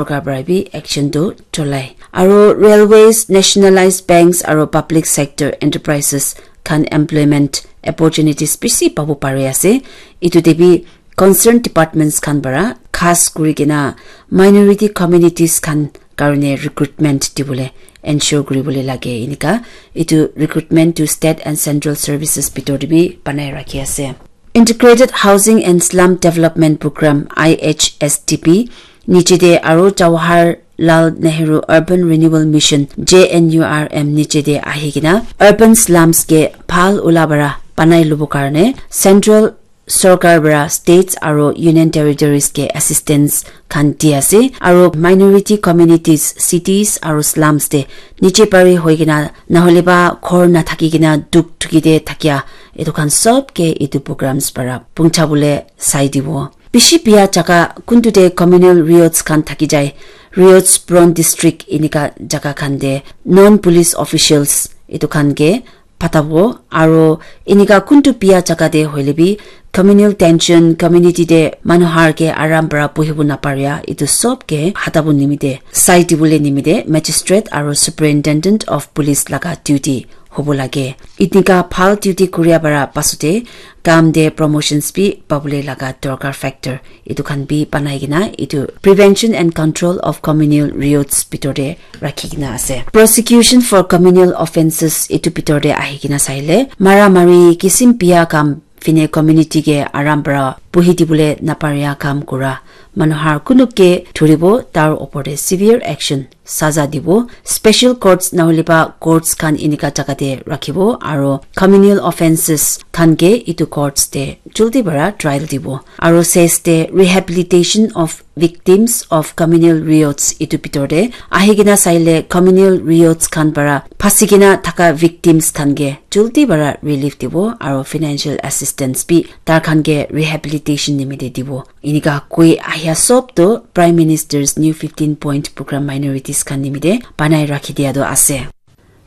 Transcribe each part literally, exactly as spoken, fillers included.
sorkar para bi action tu cholai. Aro railways, nationalized banks aro public sector enterprises khan employment opportunities bishi pabu pari ase. Itu te bi concerned departments khan para khas kuri kena minority communities khan karone recruitment dibole ensure kuribole lage enika itu recruitment to state and central services bitor te bi banai rakhi ase. Integrated Housing and Slum Development Program, I H S D P, niche te aro Jawaharlal Nehru Urban Renewal Mission, J N U R M, niche te ahi kena urban slums ke bhal ula para banai lobo karne central sorkar para states aro union territories ke assistance khan di ase, aro minority communities, cities aro slums te niche pari hoi kena nahole ba ghor na thaki kena duk thuki te thakia, etu khan sob ke etu programs para puncha bole sai dibo. Bishi bia jaga kuntu te communal riots khan thaki jai, riots prone district enika jaga khan te non police officials etu khan ke patabo, aro enika kuntu bia jaga te hoile bi communal tension, community te manu har ke aram para buhibo naparia, etu sob ke hatabo nimite, sai dibole nimite magistrate aro superintendent of police laga duty hobo lage. Enika bhal duty kuria para pasute kam te promotions bi pabole laga dorkar factor etu khan bi banai kena etu prevention and control of communal riots bitor te rakhi kena ase. Prosecution for communal offences etu bitor te ahi kena saile mara mari kisim bia kam fine community ke aram para buhi dibole naparia kam kura manu har kunuk ke thuribo, tar opor te severe action saza dibo. Special courts nahole ba courts khan enika jaga te rakhibo, aro communal offences khan ke etu courts te jaldi para trial dibo, aro ses te rehabilitation of victims of communal riots etu bitor te ahi kena saile communal riots khan para phasi kena thaka victims khan ke jaldi para relief dibo, aro financial assistance bi tar khan ke rehabilitation nimite dibo. Enika koi ahia sob tu Prime Minister's New fifteen Point Program minorities khan nimite banai rakhi dia tu ase.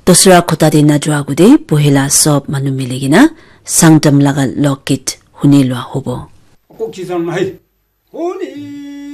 Dosra khota te najua agute pohila sob manu mili kena Sangtam laga lokgit huni lua hobo. Ako kisan mai. Huni.